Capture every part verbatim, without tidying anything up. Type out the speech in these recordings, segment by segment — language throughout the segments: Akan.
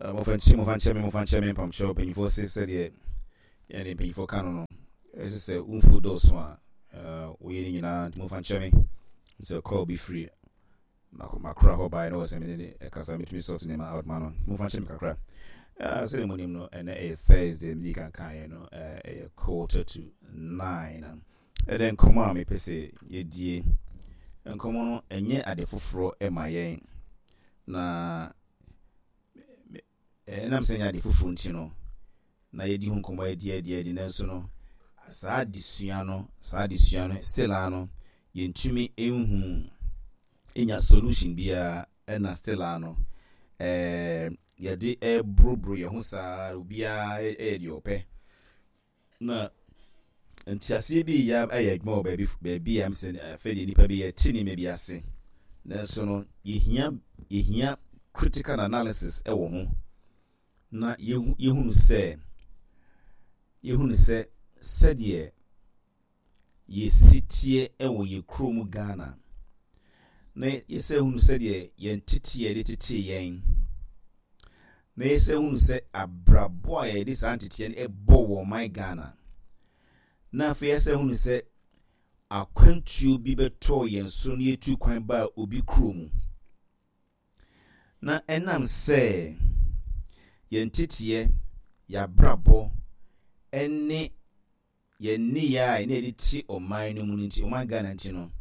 Momfa nkyɛ, momfa nkyɛ me, momfa nkyɛ me, mpamkyɛw. Mpanyinfoɔ se sɛdeɛ yɛne mpanyinfoɔ ka no no ɛsɛ sɛ womfuo dɔɔso a woyɛ no nyinaa, nti momfa nkyɛ me sɛ call bi firi makora hɔ baeɛ na wɔ sɛ mene ne ɛkasa, metumi sort nneɛma out ma no. Momfa nkyɛ me kakra. Sɛdeɛ monim no, ɛnɛ ɛyɛ Thursday, mede kankaeɛ no, ɛyɛ quarter to nine. Ɛdɛ nkɔmmɔ a mepɛ sɛ yɛdie nkɔmmɔ no, ɛnyɛ ade foforɔ ɛma yɛn, na ɛnam sɛ ɛnyɛ ade foforɔ nti no na yɛdi ho nkɔmmɔ adi adi adi. Nanso no, saa adesua no saa adesua no still a no yɛntumi nhu ɛnya solution biara, ɛna still a no ɛɛ yɛde ɛboroboro yɛn ho saa, obiara ɛyɛ deɛ ɔpɛ, na nteaseɛ bi yɛ ɛyɛ adwuma wɔ baabi baabi a sɛ afei deɛ nipa bi yɛte nneɛma bi ase. Nanso no yɛhia yɛhia critical analysis ɛwɔ ho na yɛhu yɛhunu sɛ yɛhunu sɛ sɛdeɛ yɛsi teɛ ɛwɔ yɛ kurom Ghana, na yɛsɛ hunu sɛdeɛ yɛn tete yɛde tete yɛn, na yɛsɛ hunu sɛ abrabɔ a yɛde saa nteteɛ no ɛbɔ wɔ ɔman Ghana, na afei yɛsɛ hunu sɛ akwantuo bi bɛtɔɔ yɛn so na yɛtu kwan baa obi kuro mu, na ɛnam sɛ yɛn teteɛ, yɛabrabɔ ɛne yɛn nneyɛɛ a ɛne yɛde te ɔman no mu no nti, ɔman Ghana nti no,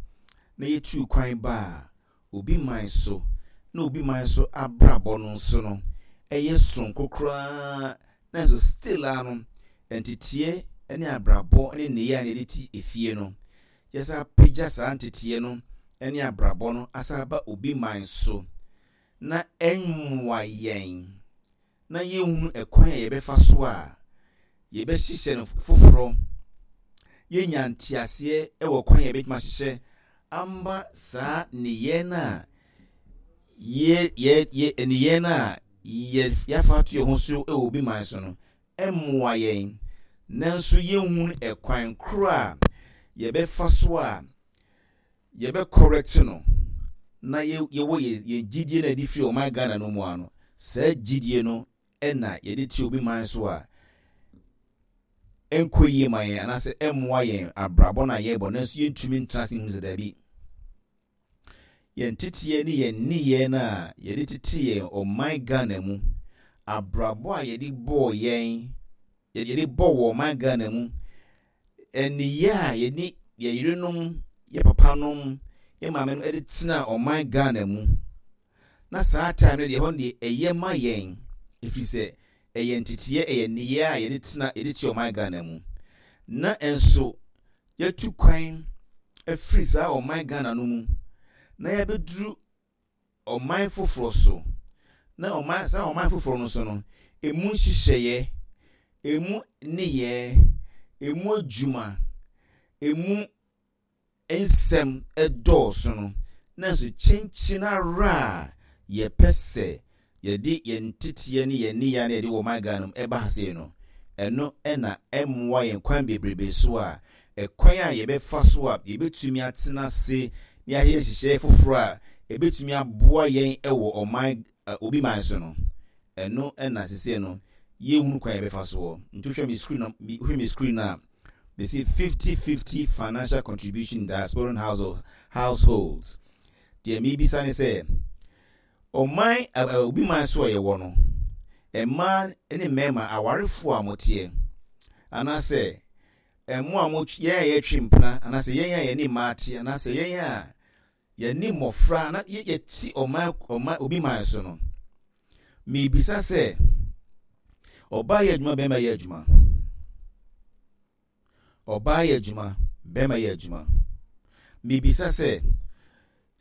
na yɛtu kwan baa obi man so, na obi man so abrabɔ no nso no ɛyɛ soronko koraa, nanso still a no nteteɛ ne abrabɔ ne nneyɛɛ a yɛde te efie no, yɛsa apagya saa nteteɛ no ne abrabɔ no asa aba obi man so na ɛmmoa yɛn, na yɛnhunu ɛkwan a yɛbɛfa so a yɛbɛhyehyɛ no foforɔ, yɛnya nteaseɛ wɔ kwan a yɛbɛtumi ahyehyɛ amba saa nneyɛɛ no a yɛ yɛ yɛ nneyɛɛ no a yɛ yɛafa ato yɛn ho so wɔ obi man so no ɛmmoa yɛn, nanso yɛnhunu ɛkwan koro a yɛbɛfa so a yɛbɛ correct no, na yɛwɔ yɛ yɛn gyidie no a yɛde firi ɔman Ghana no mu ano, saa gyidie no ɛna yɛde te obi man so a ɛnkɔ yie ma yɛn anaasɛ ɛmmoa yɛn abrabɔ no a yɛrebɔ. Nanso yɛntumi ntena ase nhu sɛ daabi, yɛn teteɛ ne yɛn nneyɛɛ no a yɛde tete yɛn ɔman Ghana mu, abrabɔ a yɛde bɔɔ yɛn, yɛde bɔ wɔ ɔman Ghana mu, nneyɛɛ a yɛne yɛn yerenom, yɛ papanom, yɛ maame no de tena ɔman Ghana mu, na saa time no deɛ, ɛhɔ no deɛ ɛyɛ ma yɛn, ɛfiri sɛ ɛyɛ nteteɛ, ɛyɛ nneyɛɛ a yɛde tena, yɛde te ɔman Ghana mu, na nso yɛtu kwan afiri saa ɔman Ghana no mu na yɛabɛduru ɔman foforɔ so, na ɔman saa ɔman foforɔ no so no, emu nhyehyɛeɛ, emu nneyɛɛ, emu adwuma, emu nsɛm ɛdɔɔso no, nanso kyenkyen ara a yɛpɛ sɛ yɛde yɛn teteɛ ne yɛn nneyɛɛ no yɛde wɔ ɔman Ghana mu ɛba ha sei no, ɛno ɛna ɛmmoa yɛn kwan bebrebe so a ɛkwan a yɛbɛfa so a yɛbɛtumi atena ase ne ayɛ nhyehyɛeɛ foforɔ a ɛbɛtumi aboa yɛn ɛwɔ ɔman obi man so no, ɛno ɛna sese no yɛhunu kwan yɛbɛfa soɔ. Nti wohwɛ me screen no, wohwɛ me screen no a mesi fifty fifty financial contribution in diasporan household households Deɛ miribisa ne sɛ, ɔman obi man so a yɛwɔ no, mmaa ne mmarima awarefoɔ a moteɛ, anaasɛ ɛmo a mo yɛn a yɛtwe mpena, anaasɛ yɛn a yɛne mmaa te, anaasɛ yɛn a yɛne mmɔfra na yɛte ɔman ɔman obi man so no, miribisa sɛ, ɔbaa yɛ adwuma, bɛrima yɛ adwuma, ɔbaa yɛ adwuma, bɛrima yɛ adwuma, miribisa sɛ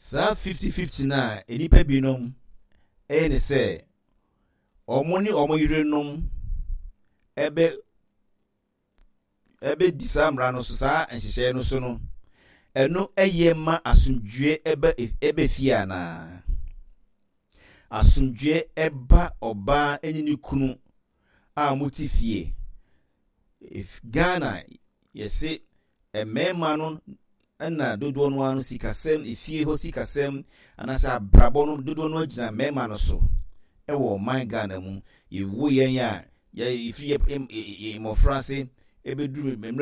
saa fifty fifty na nnipa binom ɛyɛ ne sɛ ɔmo ne ɔmo yerenom ɛbɛ ɛbɛdi saa mmara no so, saa nhyehyɛeɛ no so no, ɛno ɛyɛ ma asomdwie ɛbɛ ɛbɛ fie, anaa asomdwie ɛba ɔbaa ɛne ne kunu a wɔte fie? Ghana yɛse mmarima no ɛna dodoɔ no ano sikasɛm, efie hɔ sikasɛm anaasɛ abrabɔ no dodoɔ no agyina mmarima no so. Ɛwɔ ɔman Ghana mu, yɛwo yɛn a, yɛfiri yɛ mmɔfra ase ɛbɛduru mmerɛ.